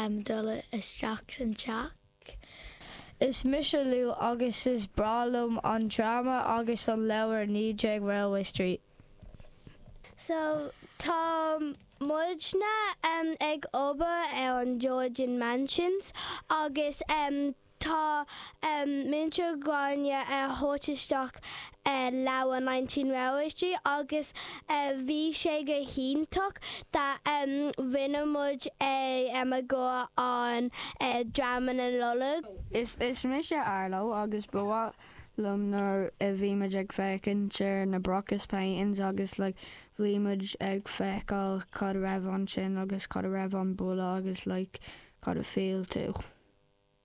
dul isteach san teach. Is mise Lou agus is breá liom an dráma agus an leabhar 19 Railway Street. So tá muidne ag obair ar an Georgian Mansions agus tá Múinteoir Gráinne a thabhairt isteach leabhar 19 Railway Street agus bhí sé go hiontach that rinne muid é i gcomhair an dráma na Nollag. Is mise Arlo agus ba mhaith liom nuair a bhí muid ag féachaint ar na Brocas paintings agus like bhí muid ag feiceáil cad a raibh ansin agus cad a raibh an bulla agus like cad a feel tú.